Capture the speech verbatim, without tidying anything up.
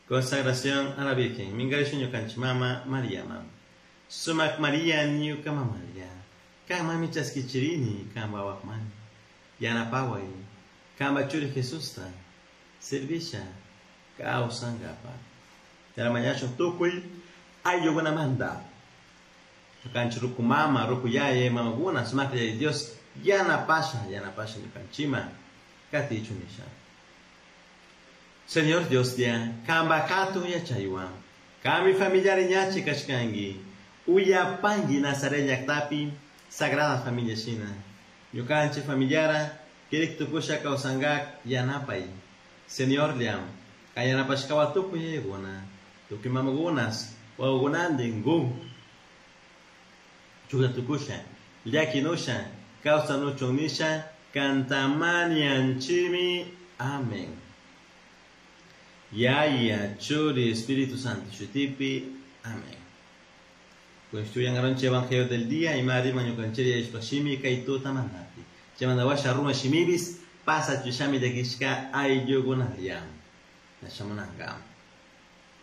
Consagración a la Virgen, minkarisha ñukanchik mama Mariaman. Sumak Maria ñuka mamalla, kanmanmi chaskichirini kanpa wawakmani, yanapaway, kanpa churi Jesusta, servisha kawsankapak. Mañashun tukuy ayllukunamanta. Ñukanchik ruku mama, ruku yaya, mamakuna, sumaklla Dios yanapasha, yanapasha ñukanchikman katichun nisha. Señor Dios ya, kanpa hatun yachaywan, kanmi familiari ñachi kashkanki, uyapanki Nazaret llaktapi Sagrada Familia shina. Ñukanchik familiara kirik tukusha kawsankak yanapay. Señor liam, kan yanapashkawa tukuy yayakuna, tukuy mamakunas, wawakunantin gu. Chuka tukusha, llakinusha, kawsanuchun nisha, kantamanianchimi. Amén. Yaya, Churi, Espíritu Santo, Shutipi. Amén. Construyan aronche Evangelio del día y Mari mañukancheria ishpashimi kaituta mandati. Chamandawasha ruma shimibis, pasa chushami de kishka ayllukunariam. Nashamunanga.